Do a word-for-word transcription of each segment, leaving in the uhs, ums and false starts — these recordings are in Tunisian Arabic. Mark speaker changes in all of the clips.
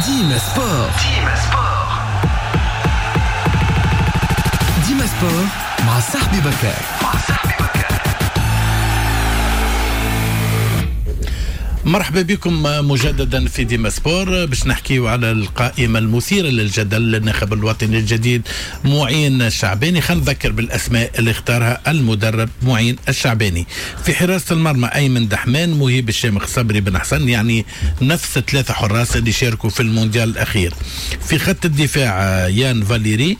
Speaker 1: ديما sport، ديما sport، ديما sport مع صاحبي بكار، مع صاحبي بكار.
Speaker 2: مرحبا بكم مجددا في ديما sport باش نحكيو على القائمة المثيرة للجدل للناخب الوطني الجديد معين الشعباني. خلينا نذكر بالأسماء اللي اختارها المدرب معين الشعباني. في حراسة المرمى أيمن دحمان، مهيب الشامخ، صبري بن حسن، يعني نفس ثلاثة حراس اللي شاركوا في المونديال الأخير. في خط الدفاع يان فاليري،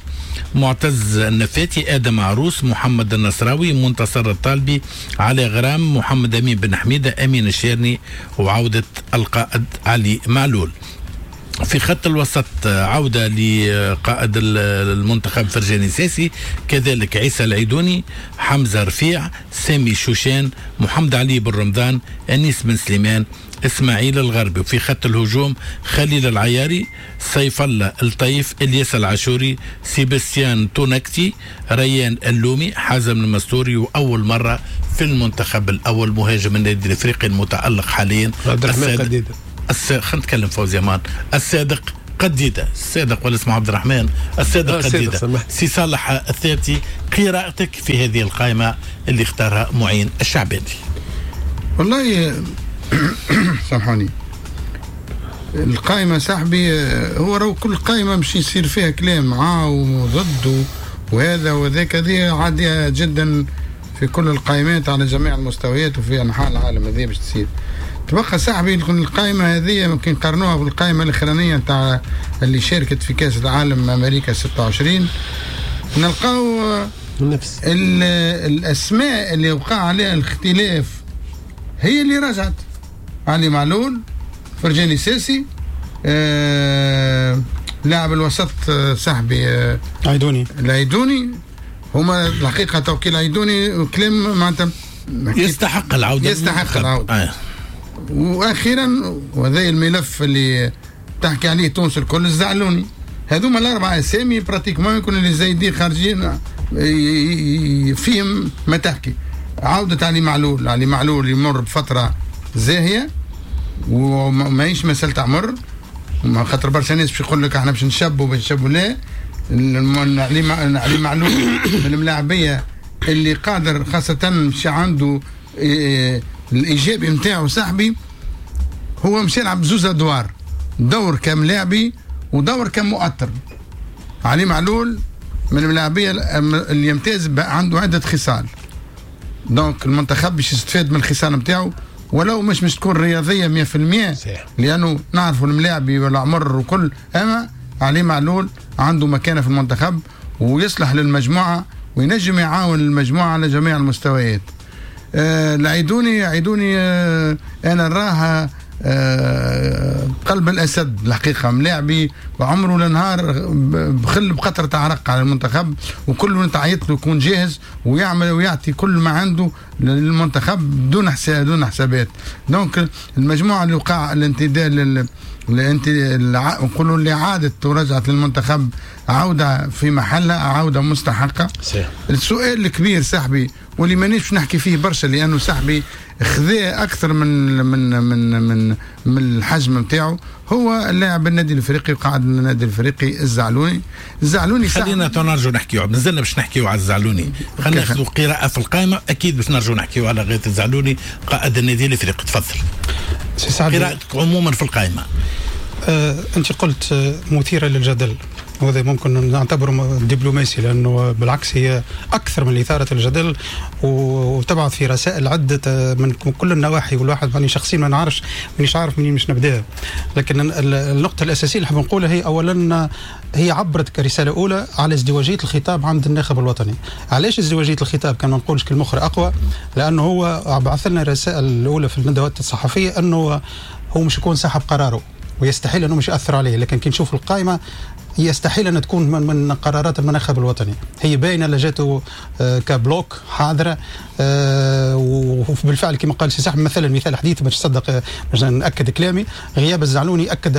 Speaker 2: معتز النفاتي، آدم عروس، محمد النصراوي، منتصر الطالبي، علي غرام، محمد أمين بن حميدة، أمين الشيرني، وعودة القائد علي معلول. في خط الوسط عودة لقائد المنتخب فرجاني ساسي، كذلك عيسى العيدوني، حمزة رفيع، سامي شوشان، محمد علي بن رمضان، أنيس بن سليمان، اسماعيل الغربي. وفي خط الهجوم خليل العياري، سيف الله الطيف، الياس العاشوري، سيباستيان تونكتي، ريان اللومي، حازم المستوري، واول مرة في المنتخب الاول مهاجم النادي الافريقي المتالق حاليا
Speaker 3: عبد الرحمن قديده.
Speaker 2: الس... خلينا نتكلم فوزي امان، الصادق قديده، الصادق ولا اسمه عبد الرحمن الصادق قديده. سي صالح الثابتي، قراءتك في هذه القائمة اللي اختارها معين الشعباني؟
Speaker 4: والله سامحوني، القائمة صاحبي هو رو كل قائمة مش يصير فيها كلام معاه وضد وهذا وذاك، هذه عادية جدا في كل القائمات على جميع المستويات وفي أنحاء العالم هذه باش تصير. تبقى صاحبي القائمة هذه ممكن نقارنوها بالقائمة الأخرانية نتاع اللي شاركت في كأس العالم أمريكا ستة وعشرين، نلقاو نفس الأسماء اللي وقع عليها الاختلاف هي اللي رجعت: علي معلول، فرجاني ساسي، آه، لاعب الوسط صاحبي آه،
Speaker 3: عيدوني،
Speaker 4: العيدوني. هما الحقيقة توكيل عيدوني كلام معناتها
Speaker 2: يستحق العودة،
Speaker 4: يستحق العودة. آه. واخيرا وهذا الملف اللي تحكي عليه تونس الكل، الزعلوني. هذوما الاربعة اسامي pratiquement يكون اللي زايدين خارجين فيهم ما تحكي. عودة علي معلول، علي معلول يمر بفترة زاهية وماهيش مسألة عمر، خاطر برشا ناس باش يقول لك احنا باش نشبوا باش نشبوا، لا، علي علي معلول من الملاعبية اللي قادر، خاصة مش عنده الإيجابي نتاعو صاحبي، هو مش يلعب زوز أدوار، دور كملاعبي ودور كمؤطر. علي معلول من الملاعبية اللي يمتاز عنده عدة خصال، donc المنتخب باش يستفاد من الخصال نتاعو ولو مش مش تكون رياضية مية في المية، لانه نعرفوا الملاعبي والعمر وكل، اما علي معلول عنده مكانه في المنتخب ويصلح للمجموعة وينجم يعاون المجموعة على جميع المستويات. آه العيدوني، عيدوني آه انا نراه آه قلب الاسد الحقيقة، ملاعبي وعمره لنهار بخل بقطره عرق على المنتخب، وكل ما تعيط له يكون جاهز ويعمل ويعطي كل ما عنده للمنتخب دون حساب دون حسابات. donc المجموعة اللي وقع الانتداء لل نقولوا اللي عادت ورجعت للمنتخب عوده في محلها، عوده مستحقه.
Speaker 3: صحيح.
Speaker 4: السؤال الكبير صاحبي واللي مانيش نحكي فيه برشا لانه صاحبي خذا اكثر من من من من من الحجم نتاعو، هو اللاعب النادي الافريقي وقاعد النادي الافريقي الزعلوني. الزعلوني
Speaker 2: خلينا نرجعوا نحكيو، مازلنا باش نحكيو على الزعلوني، خلينا ناخذ قراءة في القائمة، اكيد باش نرجعوا نحكيو على غيث الزعلوني قائد النادي الافريقي. تفضل قراءتك عموما في القائمة.
Speaker 3: آه، انت قلت مثيرة للجدل، وهذا ممكن نعتبره دبلوماسي لانه بالعكس هي اكثر من اثاره الجدل وتبعث في رسائل عده من كل النواحي، والواحد ماني شخصيا ما نعرفش مانيش عارف منين مش نبدا. لكن النقطة الاساسية اللي حاب نقولها هي اولا هي عبرت كرسالة اولى على ازدواجية الخطاب عند الناخب الوطني. علاش ازدواجية الخطاب؟ كان ما نقولش كلمة اخرى اقوى، لانه هو بعث لنا الرسائل الاولى في الندوات الصحفية انه هو مش يكون سحب قراره ويستحيل انه مش ياثر عليه، لكن كي نشوف القائمة يستحيل ان تكون من, من قرارات المنتخب الوطني. هي باينة اللي جاته ك bloc حاضره، وبالفعل كما قال سي سحب مثلا مثال حديث باش تصدق باش ناكد كلامي، غياب الزعلوني اكد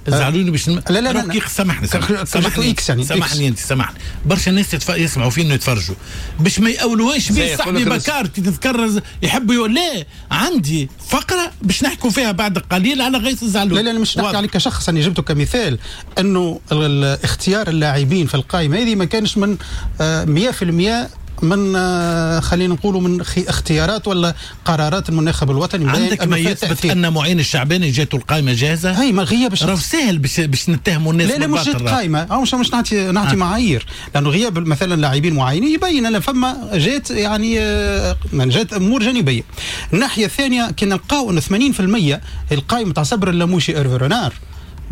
Speaker 2: الزعلوني باش
Speaker 3: لا لا لا
Speaker 2: سامحني سامحني يعني سامحني انت سامحني برشا ناس يتف... يسمعوا فينا يتفرجوا باش ما يأولوهاش بيه صاحبي بكار كي تتكرر يحبوا يقول لا عندي فقره باش نحكوا فيها بعد قليل على غيث الزعلوني.
Speaker 3: لا لا مش نحكي عليك كشخص، انا جبته كمثال انه اختيار اللاعبين في القائمة هذه ما كانش من مية في المية من خلينا نقولوا من اختيارات ولا قرارات المنتخب الوطني.
Speaker 2: عندك ما يثبت ان معين الشعباني جاته القائمة جاهزة؟
Speaker 3: هي ما غياب
Speaker 2: راه سهل باش باش نتهموا الناس.
Speaker 3: لا لا مش جات قائمة، او مش مش نعطي نعطي آه. معايير، لانه غياب مثلا لاعبين معينين يبين ان فما جات يعني من جات امور جانبيه. الناحية الثانية كي نلقاو ان ثمانين في المية القائمة تاع صبر اللاموشي ايرفي رونار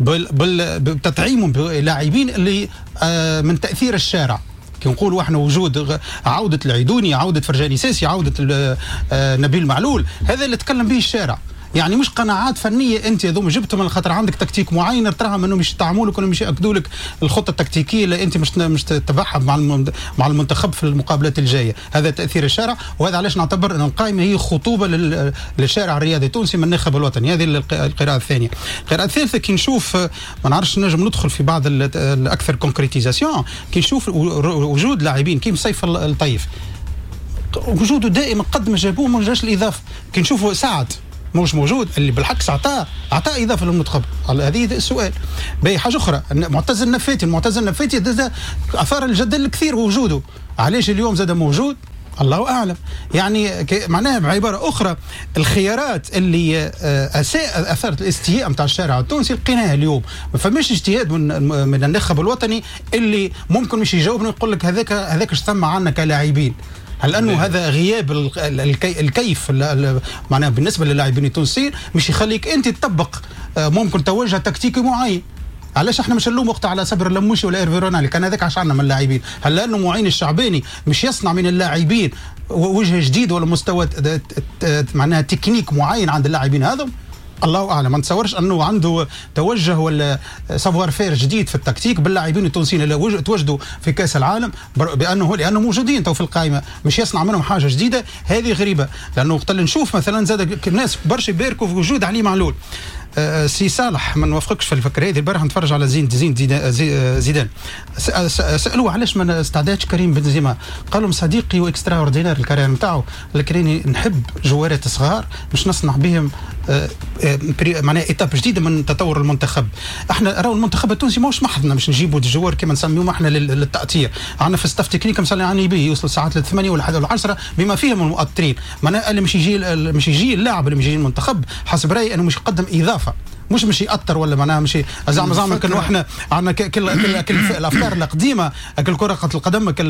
Speaker 3: بال بال بتطعيمهم بلاعبين اللي آه من تاثير الشارع. كي نقولوا احنا وجود عودة العيدوني، عودة فرجاني ساسي، عودة نبيل معلول، هذا اللي تكلم به الشارع. يعني مش قناعات فنية انت هذوما جبتهم على خاطر عندك تكتيك معين تراهم انهم مش يطعموا لك ولا مش ياكدوا لك الخطة التكتيكيه اللي انت مش مش تتبعها مع مع المنتخب في المقابلات الجاية. هذا تاثير الشارع، وهذا علاش نعتبر ان القائمة هي خطوبه للشارع الرياضي التونسي من الناخب الوطني. هذه القراءة الثانية. القراءة الثالثة كي نشوف ما نعرفش نجم ندخل في بعض الاكثر concrétisation، كي نشوف وجود لاعبين كيف سيف الطيف وجوده دائما قد ما جابوه ما جاش الاضافة. كي نشوفوا سعد مش موجود اللي بالعكس عطاه عطاه اضافه للمنتخب. هذه السؤال. باهي حاجة اخرى، معتز النفاتي، المعتز النفاتي اثار الجدل الكثير وجوده، علاش اليوم زاد موجود؟ الله اعلم. يعني معناها بعبارة اخرى الخيارات اللي اساء اثارت الاستياء نتاع الشارع التونسي لقيناها اليوم. ما فماش اجتهاد من من الناخب الوطني اللي ممكن مش يجاوبنا ويقول لك هذاك هذاك اش ثم عندنا كلاعبين. هل انه هذا غياب الكيف معناها بالنسبة للاعبين التونسيين مش يخليك انت تطبق ممكن توجه تكتيكي معين؟ علاش احنا مش نلوم وقتها على صبر اللموشي ولا ايرفي رونالي كان هذاك عش عندنا من اللاعبين؟ هل لانه معين الشعباني مش يصنع من اللاعبين وجه جديد ولا مستوى معناها تكنيك معين عند اللاعبين هذا؟ الله اعلم. ما نتصورش انه عنده توجه ولا savoir-faire جديد في التكتيك باللاعبين التونسيين اللي توجدوا في كاس العالم بانه لانه موجودين تو في القائمة، مش يصنع منهم حاجة جديدة. هذه غريبة، لانه وقت اللي نشوف مثلا زاد الناس برشا يباركوا في وجود علي معلول. أه سي صالح ما نوافقكش في الفكرة هذه. البارح نتفرج على زين زين زيدان، سالوه علاش ما استعدادش كريم بنزيما، قال لهم صديقي و extraordinaire ال carrière نتاعو، لكن نحب جوارات صغار باش نصنع بهم أه معناها étape جديدة من تطور المنتخب. احنا راهو المنتخب التونسي ماهوش محضنا باش نجيبوا des joueurs كما نسميهم احنا للتأطير. عندنا في staff technique مثلا يعني به يوصل ساعات للثمانية ولا العشرة بما فيهم المؤطرين. معناها اللي مش يجي مش يجي اللاعب اللي مش يجي المنتخب حسب رايي انه مش يقدم اضافه، مش مش يأثر ولا معناها مش زعما زعما كنا احنا عندنا كل كل كل الافكار القديمة كل كره القدم كل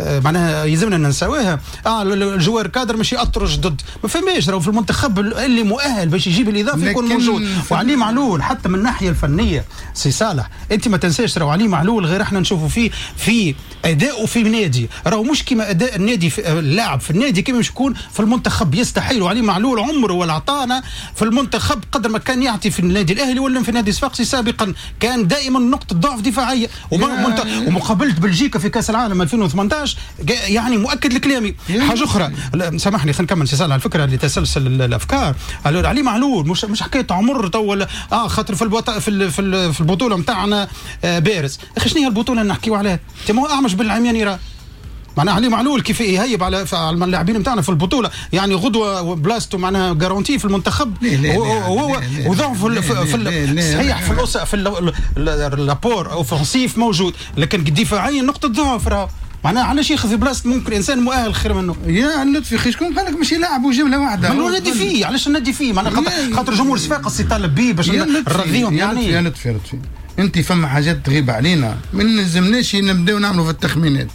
Speaker 3: معناها يلزمنا ننساوها. اه ال joueurs cadres مش يأثروا جدد، ما فماش. راهو في المنتخب اللي مؤهل باش يجيب الاضافة يكون موجود. وعلي معلول حتى من الناحية الفنية سي صالح انت ما تنساش راهو علي معلول غير احنا نشوفوا فيه في اداؤه في النادي، راهو مش كما اداء النادي في اللاعب في النادي كما مش يكون في المنتخب. يستحيل. وعلي معلول عمره ولا عطانا في المنتخب قدر ما كان يعطي في النادي الاهلي ولا في النادي الصفاقسي سابقا، كان دائما نقطة ضعف دفاعية. ومقابله بلجيكا في كاس العالم ألفين وثمانية عشر يعني مؤكد لكلامي. حاجة اخرى سامحني خلينا نكمل سي صالح على الفكرة اللي تسلسل الافكار. علي معلول مش مش حكاية عمر تو اه خاطر في البط... في في البطولة نتاعنا آه بارز. اخي شنو هي البطولة اللي نحكيو عليها؟ انت ما هو اعمش بالعميان راه معناها علي معلول كيف يهيب على على اللاعبين نتاعنا في البطولة، يعني غدوه بلاصته معناها garantie في المنتخب. هو وضعف في, في صحيح في الأس في l'apport offensif موجود، لكن دفاعيا نقطة ضعف راه. معناها علاش ياخذ في بلاصة ممكن انسان مؤهل خير منه؟
Speaker 4: يا لطفي خي شكون قال لك مش يلعبوا جملة واحدة؟
Speaker 3: من النادي فيه، علاش النادي فيه؟ معناها خاطر جمهور صفاقس يطالب به باش نرضيهم. يعني
Speaker 4: يا لطفي يا لطفي انت فما حاجات تغيب علينا ما نلزمناش نبداو نعملوا في التخمينات.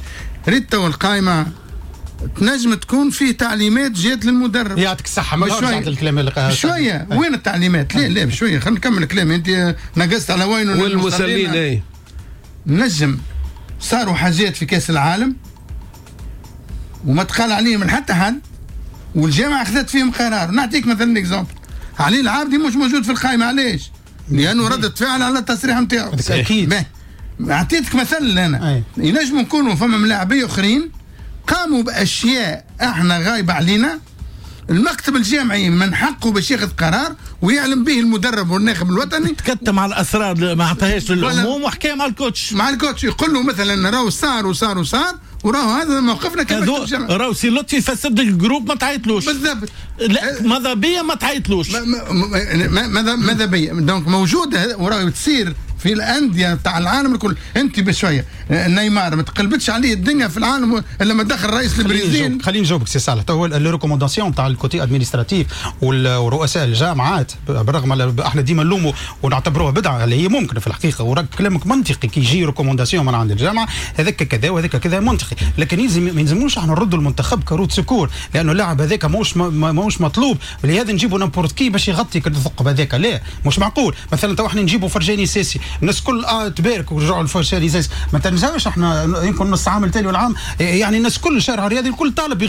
Speaker 4: ريت تو القائمة تنجم تكون فيه تعليمات جات للمدرب.
Speaker 3: يعطيك الصحة ما رجعت الكلام اللي
Speaker 4: شوية. وين التعليمات؟ لا لا بشوية خلينا نكمل كلامي. انت نقصت على وين
Speaker 5: والمسلين. اي
Speaker 4: نجم صاروا حاجات في كاس العالم وما تقال عليهم من حتى حد، والجامعة اخذت فيهم قرار. نعطيك مثلا exemple، علي العابدي مش موجود في القائمة. علاش؟ لانه ردت فعل على التصريح نتاعو.
Speaker 3: اكيد.
Speaker 4: اعطيتك مثل انا. ينجموا يكونوا فما ملاعبيه اخرين قاموا باشياء احنا غايبة علينا، المكتب الجامعي من حقه باش ياخذ قرار ويعلم به المدرب والناخب الوطني.
Speaker 2: تكتم على الاسرار، ما عطاهاش للعموم، وحكى مع ال coach
Speaker 4: مع ال coach يقول له مثلا راهو صار وصار وصار وراهو هذا موقفنا كمكتب جامعي،
Speaker 2: راهو سي لطفي فسد ال groupe ما تعيطلوش
Speaker 4: بالضبط،
Speaker 2: لا ماذا بيا ما تعيطلوش،
Speaker 4: ماذا ماذا بيا. donc موجودة وراهو تصير في الاندية تاع العالم الكل. انت بشوية نيمار ما تقلبتش عليه الدنيا في العالم الا ما دخل رئيس البرازيل.
Speaker 3: خليني نجاوبك سي صالح. تو les recommandations تاع ال côté administratif ورؤساء الجامعات، بالرغم احنا ديما نلوموا ونعتبروها بدعة اللي هي ممكنة في الحقيقة، وراك كلامك منطقي كي يجي recommandation من عند الجامعة هذاك كذا وهذاك كذا منطقي، لكن يلزم ما يلزموش احنا نردوا المنتخب ك roue de secours، لانه اللاعب هذاك ماهوش ماهوش مطلوب، لهذا نجيبوا n'importe qui باش يغطي الثقب هذاك، لا مش معقول. مثلا تو احنا نجيبوا فرجاني ساسي، الناس كل اه تبارك ورجعوا الفرجاني ساسي، ما تنساوش احنا يمكن نص عام التالي والعام يعني الناس كل الشارع الرياضي الكل طالب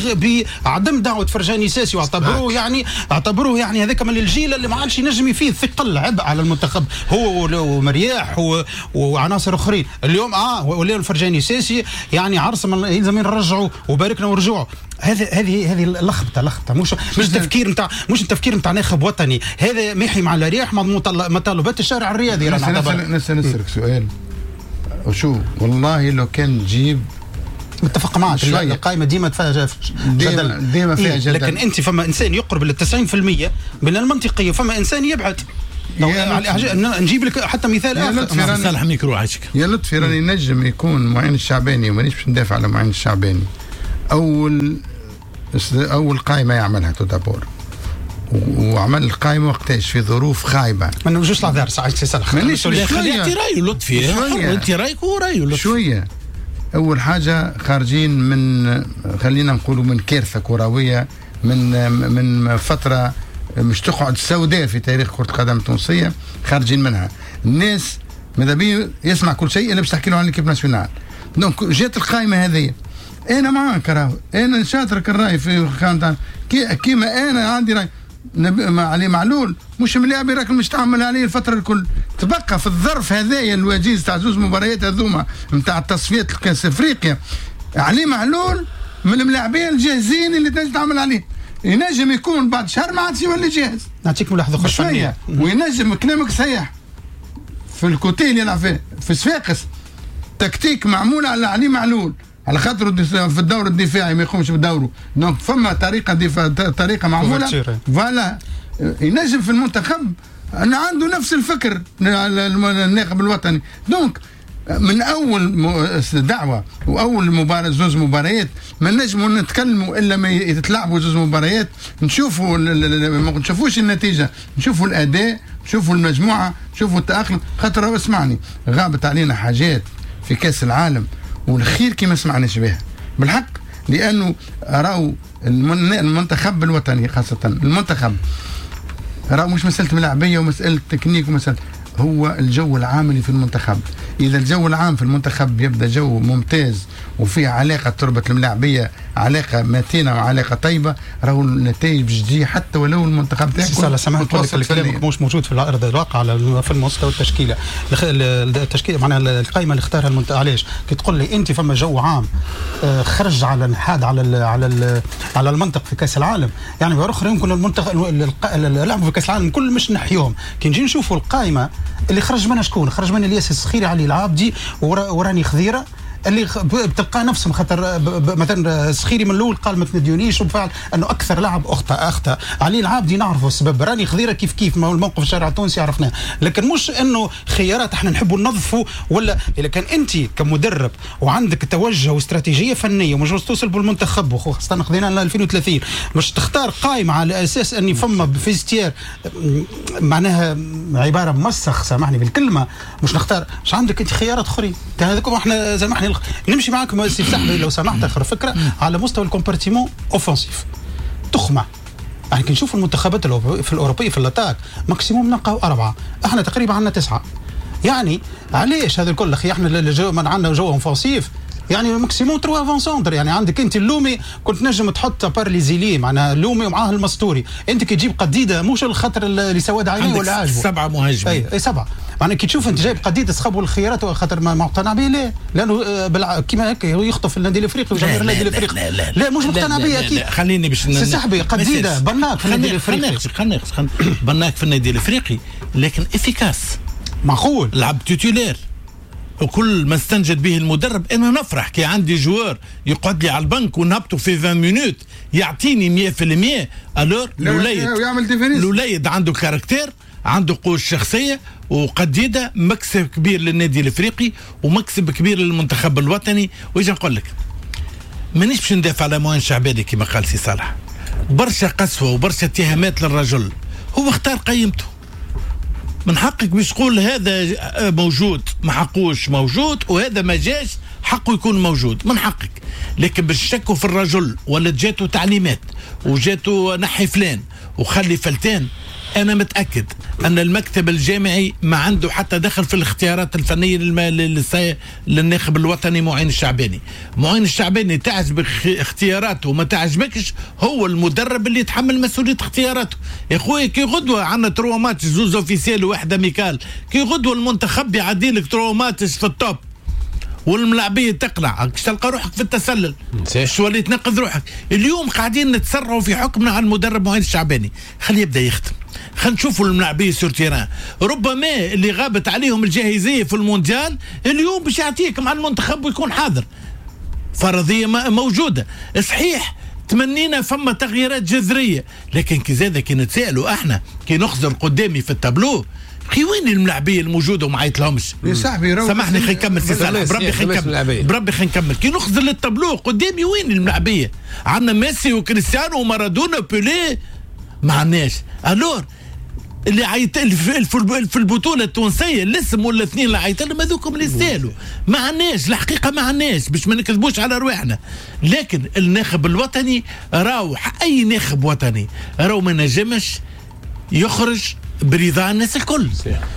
Speaker 3: بعدم دعوه فرجاني ساسي، واعتبروه يعني اعتبروه يعني هذاك من الجيل اللي ما عادش ينجم يفيد ثقل عبء على المنتخب هو ومرياح وعناصر اخرين. اليوم اه ولاو الفرجاني ساسي يعني عرس من يلزم نرجعوا وباركنا ورجوعوا. هذا هذه هذه اللخبطة لخبطة مش مش تفكير نتاع مش التفكير نتاع ناخب وطني، هذا محي مع الرياح مع مطالبات الشارع الرياضي.
Speaker 4: نسألك سؤال، وشو والله لو كان تجيب
Speaker 3: متفق معك القائمة ديما فيها جدل،
Speaker 4: ديما فيها إيه؟ جدل،
Speaker 3: لكن انت فما انسان يقرب لل تسعين بالمية من المنطقية، فما انسان يبعد. نجيب لك حتى مثال
Speaker 2: اخر. صالح ميكرو عايشك
Speaker 4: يا لطفي، راني نجم يكون معين الشعباني، ومانيش باش ندافع على معين الشعباني. اول اول قائمة يعملها tout d'abord، وعمل القائمة وقتاش في ظروف خايبة.
Speaker 3: ما نوجوش العذار سي صالح،
Speaker 2: مانيش خلي يعطي رايه لطفي، انت رايك ورايه لطفي
Speaker 4: شوية. اول حاجة خارجين من خلينا نقولوا من كارثة كروية، من من فترة مش تقعد سوداء في تاريخ كره القدم التونسية، خارجين منها. الناس ماذا بيه يسمع كل شيء الا باش تحكي له عن l'équipe nationale. donc جات القائمة هذه، انا معاك راهو، انا نشاطرك الراي في خانة كيما انا عندي راي علي معلول مش ملاعب راك مش تعمل عليه الفترة الكل. تبقى في الظرف هذايا الوجيز تاع زوز مباريات هذوما نتاع التصفيات الكاس افريقيا، علي معلول من الملاعبين الجاهزين اللي تنجم تعمل عليه. ينجم يكون بعد شهر ما عادش يولي جاهز.
Speaker 3: نعطيك ملاحظة اخرى
Speaker 4: شوية، وينجم كلامك صحيح في ال côté اللي يلعب فيه في صفاقس، تكتيك معمول على علي معلول على خاطر في الدور الدفاعي ما يقومش بدوره، donc فما طريقه دفاع طريقه معمولة voilà. ينجم في المنتخب ان عنده نفس الفكر الناخب الوطني. donc من اول دعوه واول مباراة زوز مباريات ما نجموا نتكلموا الا ما يتلعبوا زوز مباريات، نشوفوا ما نشوفوش النتيجة، نشوفوا الاداء، نشوفوا المجموعة، نشوفوا التاقلم. خاطر اسمعني، غابت علينا حاجات في كاس العالم والخير كي ما سمعناش بها بالحق، لانه راهو المنتخب الوطني خاصة المنتخب راهو مش مسالة ملاعبيه ومسالة تكنيك ومسالة، هو الجو العام اللي في المنتخب. اذا الجو العام في المنتخب يبدا جو ممتاز وفيه علاقة تربط الملاعبيه علاقة متينة وعلاقة طيبة، راهو النتائج باش تجي حتى ولو المنتخب تاعك.
Speaker 3: سي سامحني نقول لك كلامك مش موجود في الارض الواقع على في المستوى التشكيلة، التشكيلة معناها القائمة اللي اختارها المنتخب. علاش كي تقول لي انت فما جو عام خرج على الحاد على ال على ال على المنطق في كاس العالم، يعني باخرى يمكن المنتخب لعبوا في كاس العالم كل مش نحيوهم. كي نجي نشوفوا القائمة اللي خرج منها شكون؟ خرج منها الياس الصخيري، علي العابدي، وراني خضيره، اللي بتلقى نفسهم خاطر مثلا السخيري من الاول قال ما تنديونيش، وبفعل انه اكثر لاعب اخطا اخطا علي العابدي نعرفه السبب، راني خضيره كيف كيف ما هو الموقف الشارع التونسي عرفناه، لكن مش انه خيارات احنا نحبوا ننظفوا ولا. اذا كان انت كمدرب وعندك توجه واستراتيجيه فنية ومش توصل بالمنتخب وخاصة خذينا ل ألفين وثلاثين، مش تختار قائمة على اساس اني فما vestiaire معناها عبارة مسخ سامحني بالكلمة، مش نختار، مش عندك انت خيارات اخرين. هذوك احنا سامحني نمشي معاكم سي صاحبي لو سمحت اخر فكرة على مستوى ال compartiment offensif تخمة. يعني كي نشوف المنتخبات في الاوروبية في l'attaque maximum نلقاو اربعة، احنا تقريبا عندنا تسعة. يعني علاش هذا الكل اخي؟ احنا من عندنا جو offensif يعني maximum trois avant-centres. يعني عندك انت اللومي كنت نجم تحط par les ailiers معناها اللومي ومعاه المستوري، انت كي تجيب قديده مش الخطر اللي سواد عينيه ولا عاجبه.
Speaker 2: سبعة مهاجمين.
Speaker 3: اي, أي سبعة. معناها كي تشوف انت جايب قديده سخاب والخيارات خاطر ما مقتنع به، لا لانه بالع... كيما هكا يخطف النادي الافريقي وجماهير النادي الافريقي. لا, لا, لا, لا مش مقتنع به اكيد.
Speaker 2: خليني باش
Speaker 3: سي صاحبي قديده بناك في النادي الافريقي،
Speaker 2: خلينا بناك في النادي الافريقي لكن efficace
Speaker 3: معقول
Speaker 2: لعب titulaire وكل ما استنجد به المدرب. انا نفرح كي عندي joueur يقعد لي على البنك ونهبطه في عشرين minutes يعطيني مية في المية. alors الوليد الوليد عنده caractère، عنده قوة شخصية، وقديدة مكسب كبير للنادي الافريقي ومكسب كبير للمنتخب الوطني. وإجا نقول لك مانيش باش ندافع على معين شعباني كما قال سي صالح، برشا قسوة وبرشا اتهامات للرجل، هو اختار قيمته. من حقك باش تقول هذا موجود ما حقوش موجود وهذا ما جاش حقه يكون موجود، من حقك. لكن باش تشكوا في الرجل ولا جاته تعليمات وجاته نحي فلان وخلي فلتان، أنا متأكد أن المكتب الجامعي ما عنده حتى دخل في الاختيارات الفنية للناخب الوطني معين الشعباني. معين الشعباني تعجبك اختياراته وما تعجبكش، هو المدرب اللي يتحمل مسؤولية اختياراته. يا خويا كي غدوة عندنا trois matchs، زوز officiels وواحدة amical، كي غدوة المنتخب يعدي لك trois matchs في ال top والملاعبيه تقلع، تلقى روحك في التسلل، شو اللي تنقذ روحك. اليوم قاعدين نتسرعوا في حكمنا على المدرب معين الشعباني، خليه يبدا يخدم، خلينا نشوفوا الملاعبيه sur terrain. ربما اللي غابت عليهم الجاهزيه في المونديال اليوم باش يعطيك مع المنتخب ويكون حاضر، فرضية موجودة. صحيح تمنينا فما تغييرات جذرية، لكن كي زاد كي نتسالوا احنا كي نخزر قدامي في التابلو، خي وين الملاعبيه الموجودة وما عيط لهمش؟
Speaker 4: يا صاحبي
Speaker 2: سامحني خلينا نكمل سي صالح، بربي خلينا نكمل، بربي خلينا نكمل. كي نخزر للتابلو قدامي وين الملاعبيه؟ عندنا ميسي وكريستيانو ومارادونا وبيليه، ما عندناش. alors اللي عيط في البطولة التونسية الاسم ولا اثنين اللي عيط لهم هذوكم اللي يستاهلوا، ما عندناش الحقيقة، ما عندناش باش ما نكذبوش على رواحنا. لكن الناخب الوطني راهو اي ناخب وطني راهو ما نجمش يخرج برضا الناس الكل.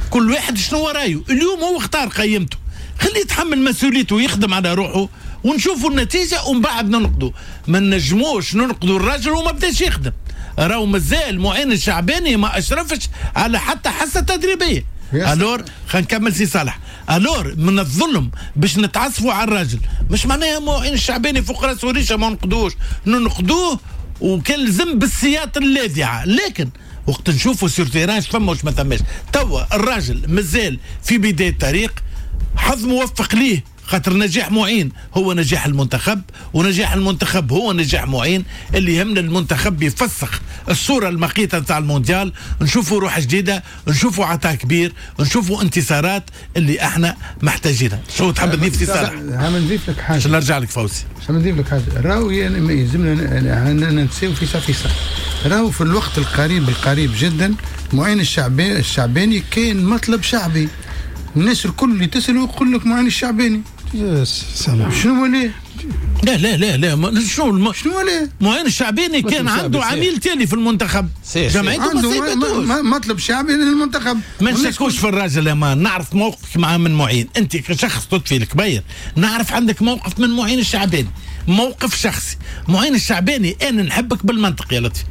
Speaker 2: كل واحد شنو رايه. اليوم هو اختار قيمته، خليه يتحمل مسؤوليته ويخدم على روحه ونشوفوا النتيجة ومن بعد ننقدوا. ما نجموش ننقدوا الراجل وما بداش يخدم، راهو مازال معين الشعباني ما اشرفش على حتى حصة تدريبية. alors خلينا نكمل سي صالح. alors من الظلم باش نتعصفوا على الراجل، مش معناها معين الشعباني فوق راسه ريشه ما ننقدوش، ننقدوه وكان لزم بالسياط اللاذعه. لكن وقت نشوفوا sur terrain فما واش ما ثماش. توا الراجل مازال في بداية الطريق، حظ موفق ليه، خاطر نجاح معين هو نجاح المنتخب، ونجاح المنتخب هو نجاح معين. اللي يهمنا المنتخب يفسخ الصورة المقيتة نتاع المونديال، نشوفوا روح جديدة، نشوفوا عطاء كبير، نشوفوا انتصارات اللي احنا محتاجينها. شو تحب تضيف سي صالح؟
Speaker 4: هم نضيف لك حاجة
Speaker 2: عشان نرجع لك فوزي.
Speaker 4: عشان نضيف لك حاجة، راهو يلزمنا نتساو في صافي. راهو في الوقت القريب القريب جدا معين الشعباني الشعباني كاين مطلب شعبي، الناس الكل اللي تسألوا يقول لك معين الشعباني.
Speaker 3: سلام.
Speaker 4: شنو ليه؟
Speaker 2: لا لا لا لا شنو الم...
Speaker 4: شنو ليه؟
Speaker 2: معين الشعباني كان عنده عميل تالي في المنتخب، جمعيته ما سيبتوش.
Speaker 4: مطلب شعبي للمنتخب.
Speaker 2: ما نشكوش في الراجل يا مان، نعرف موقفك مع من معين، انت كشخص لطفي الكبير نعرف عندك موقف من معين الشعباني، موقف شخصي. معين الشعباني انا نحبك بالمنطق يا لطفي،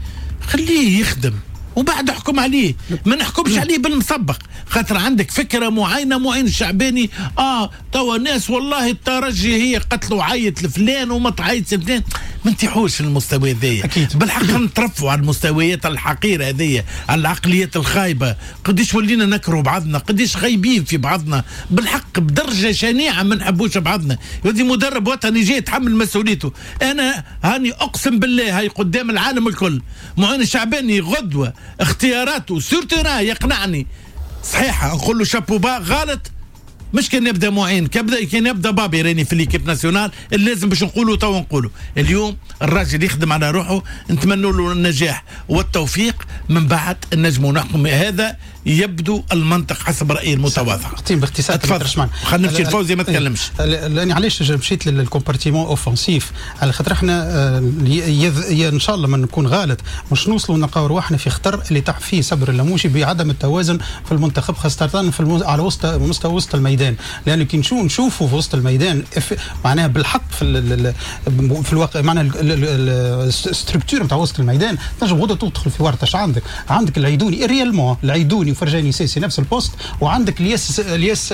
Speaker 2: خليه يخدم وبعد احكم عليه، ما نحكمش عليه بالمسبق، خاطر عندك فكرة معينة. معين الشعباني اه توا ناس والله الترجي هي قتلوا عيط لفلان وما تعيطش لفلان، ما نتيحوش المستوى هذايا. بالحق نترفوا على المستويات الحقيرة هذيا، على العقليات الخايبة. قديش ولينا نكرهوا بعضنا، قديش خايبين في بعضنا بالحق بدرجة شنيعه، ما نحبوش بعضنا. يودي مدرب وطني جاي يتحمل مسؤوليته. انا هاني اقسم بالله هاي قدام العالم الكل، معين الشعباني غدوه اختياراته sur terrain يقنعني صحيحه نقول له chapeau bas، غلط مش كان يبدا معين، كان كان يبدا بابي راني في l'équipe nationale اللي لازم باش نقولوا تو نقولوا. اليوم الراجل يخدم على روحه، نتمنوا له النجاح والتوفيق، من بعد نجموا نحكم. هذا يبدو المنطق حسب رايي المتواضع.
Speaker 3: اعطيني باختصار.
Speaker 2: تفضل. خلينا نمشي لفوزي ما تكلمش.
Speaker 3: لاني علاش مشيت لل compartiment offensif، على خاطر احنا ان شاء الله ما نكون غلط مش نوصلوا نلقاو رواحنا في خطر اللي طاح فيه صبر اللموشي بعدم التوازن في المنتخب، خاصة في المز... على وسط مستوى وسط الميدان. الميدان، لانه كي نشوفوا في وسط الميدان معناها بالحق في في الواقع معناها ال structure نتاع وسط الميدان تنجم غدوه تدخل في ورطة. اش عندك؟ عندك العيدوني réellement، العيدوني وفرجاني ساسي نفس ال poste، وعندك الياس الياس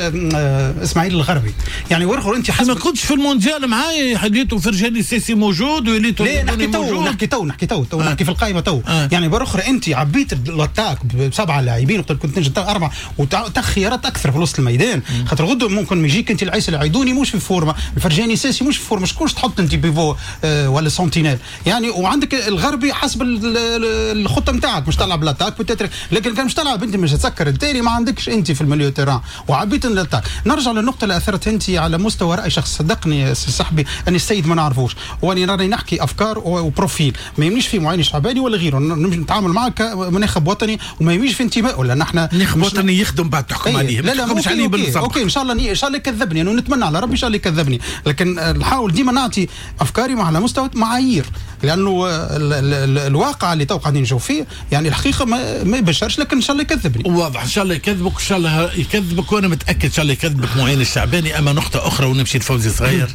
Speaker 3: اسماعيل الغربي. يعني ورخر انت
Speaker 2: حسب ما كنتش في المونديال معايا حليتو فرجاني ساسي موجود وليتو
Speaker 3: لا نحكي تو نحكي تو نحكي تو تو آه. نحكي في القائمة تو آه. يعني برخر انت عبيت l'attaque بسبعة لاعبين وقت كنت تنجم اربعة وتخيارات اكثر في وسط الميدان، خاطر غدوه ممكن يجيك انت العيسى العيدوني مش في forme، الفرجاني ساسي مش في forme، شكون تحط انت pivot آه ولا sentinelle يعني. وعندك الغربي حسب الخطة نتاعك مش تلعب l'attaque peut-être، لكن كان مش تلعب انت مش تسكر التالي ما عندكش انت في ال milieu terrain وعبيت l'attaque. نرجع للنقطة اللي اثرت انت على مستوى راي شخص، صدقني صاحبي اني السيد ما نعرفوش واني راني نحكي افكار و profil، ما يهمنيش في معين شعباني ولا غيره، نتعامل معاه كمناخب وطني وما يهمنيش في انتمائه، لان احنا
Speaker 2: ناخب وطني يخدم بعد تحكم عليه.
Speaker 3: لا لا مش عليه بالضبط. OK ان شاء الله ان شاء الله يكذبني، انا نتمنى على ربي ان شاء الله يكذبني، لكن نحاول ديما نعطي افكاري على مستوى معايير، لانه ال ال الواقع اللي تو قاعدين نشوف فيه يعني الحقيقة ما, ما يبشرش، لكن ان شاء الله يكذبني.
Speaker 2: واضح ان شاء الله يكذبك، ان شاء الله يكذبك، وانا متاكد ان شاء الله يكذبك معين الشعباني. اما نقطة اخرى ونمشي لفوزي صغير.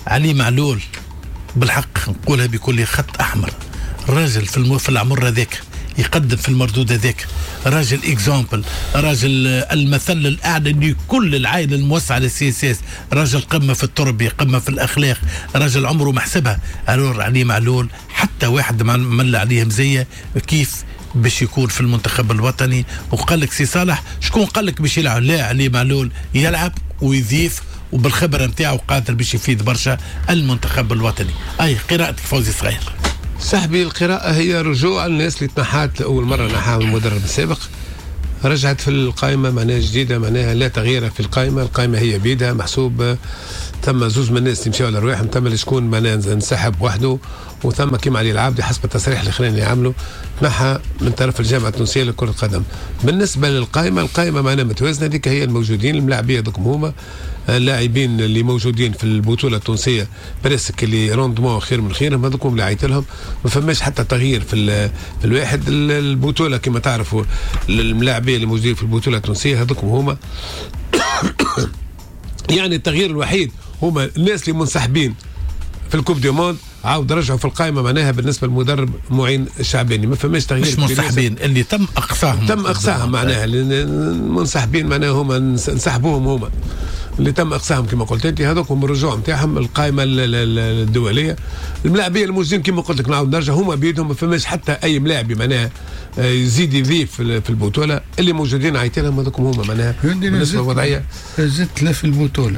Speaker 2: علي معلول بالحق نقولها بكل خط احمر، راجل في المو في العمر هذاك يقدم في المردود هذاك، راجل exemple، راجل المثل الاعلى لكل العائلة الموسعه لل CSS، راجل قمة في التربية، قمة في الاخلاق، راجل عمره ما حسبها. alors علي معلول حتى واحد ما مل عليه مزية كيف باش يكون في المنتخب الوطني. وقال لك سي صالح شكون قال لك باش يلعب؟ لا، علي معلول يلعب ويضيف وبالخبره نتاعو قادر باش يفيد برشا المنتخب الوطني. اي قراءتك فوزي صغير؟
Speaker 5: صاحبي القراءة هي رجوع الناس اللي تنحات لأول مرة نحاها المدرب السابق، رجعت في القائمة معناها جديدة، معناها لا تغيير في القائمة، القائمة هي بيدها محسوب. ثم زوز من الناس اللي مشاو على رواحهم، ثم شكون معناها انسحب وحده، وثم كيما علي العابدي حسب التصريح الاخراني اللي عمله تنحى من طرف الجامعة التونسية لكرة القدم. بالنسبة للقائمة، القائمة معناها متوازنة، هذيك هي الموجودين الملاعبية دوك هما اللاعبين اللي موجودين في البطولة التونسية presque اللي rendement خير من خيرهم، هذوك اللي عيط لهم، ما فماش حتى تغيير في في الواحد. البطولة كما تعرفوا الملاعبية اللي موجودين في البطولة التونسية هذوك هما يعني التغيير الوحيد هما الناس اللي منسحبين في ال coupe du monde عاود رجعوا في القائمة معناها بالنسبة للمدرب معين الشعباني ما فماش تغيير.
Speaker 2: مش منسحبين، اللي تم اقصاهم،
Speaker 5: تم اقصاهم معناها المنسحبين معناها هما انسحبوهم هما اللي تم اقصاهم كما قلت انت، هذوك هم الرجوع نتاعهم القائمة الدولية. الملاعبيه الموجودين كما قلت لك نعاود نرجع هما بيدهم، ما فماش حتى اي ملاعبي معناها يزيد يضيف في البطولة، اللي موجودين عيط لهم هذوك هما معناها بالنسبة للوضعيه.
Speaker 4: زدت لا في البطولة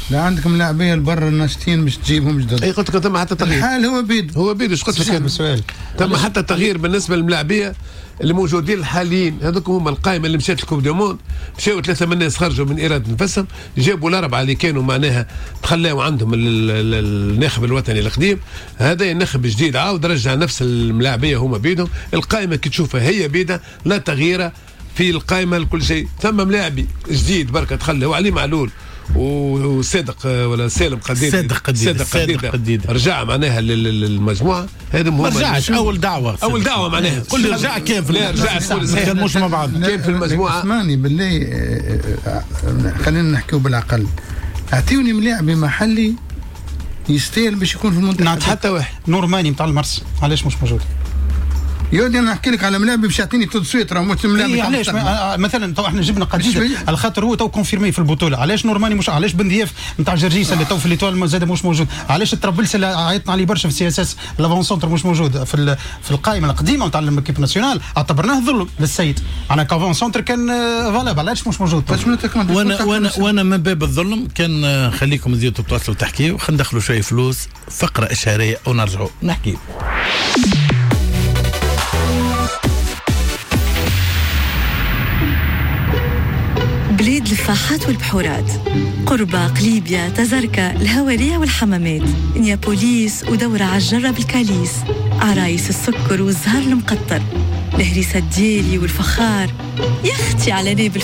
Speaker 4: لا عندكم لاعبيه البر الناشطين باش تجيبهم جدد.
Speaker 5: اي قلت لك تم حتى تغيير،
Speaker 4: الحال هو بيد
Speaker 5: هو بيد اش قلت لك
Speaker 3: السؤال،
Speaker 5: تم حتى تغيير بالنسبة للملاعبيه اللي موجودين الحاليين، هذوك هما القائمة اللي مشات ال coupe du monde، مشاو ثلاثة من الناس خرجوا من اراده نفسهم، جابوا الاربعة اللي كانوا معناها تخلاو عندهم الناخب الوطني القديم، هذا الناخب الجديد عاود رجع نفس الملاعبيه هما بيدهم. القائمة كي تشوفها هي بيدها، لا تغيير في القائمة لكل شيء. ثم ملاعبي جديد بركة تخلى هو علي معلول وصادق ولا سالم قديد،
Speaker 2: صادق قديد،
Speaker 5: صادق قديد رجع معناها للمجموعة. هذا
Speaker 2: ما رجعش اول دعوه،
Speaker 5: اول دعوه معناها
Speaker 2: كل رجع كان في
Speaker 5: لا رجع
Speaker 2: كان مش مع بعض
Speaker 5: كان في المجموعة.
Speaker 4: اسمعني بالله، خلينا نحكيو بالعقل. اعطيوني ملاعب محلي يستاهل باش يكون في المنتخب.
Speaker 5: حتى واحد
Speaker 3: نورماني نتاع المرس علاش مش موجود؟
Speaker 4: يا ودي انا نحكي لك على ملاعب باش يعطيني tout de suite راه مش ملاعب.
Speaker 3: إيه علاش مثلا تو احنا جبنا قديده على خاطر هو تو confirmé في البطولة، علاش نورماني مش، علاش بن ضياف نتاع جرجيس اللي تو في l'Étoile زاد مش موجود، علاش الترابلس اللي عيطنا عليه برشا في CSS l'avant-centre مش موجود في في القائمة القديمة نتاع l'équipe nationale، اعتبرناه ظلم للسيد على qu'avant-centre كان valable، علاش مش موجود؟
Speaker 2: وانا وانا وانا من باب الظلم كان خليكم تزيدوا تتواصلوا تحكيوا، خلينا ندخلوا شوية فلوس فقره اشهاريه ونرجعوا نحكي.
Speaker 6: بلاد الفاحات والبحورات، قربة، قليبيا، تزركة، الهوارية والحمامات، نيابوليس ودورة عالجرة بالكاليس، عرايس السكر والزهر المقطر، الهريسة الديالي والفخار، يا اختي على نابل.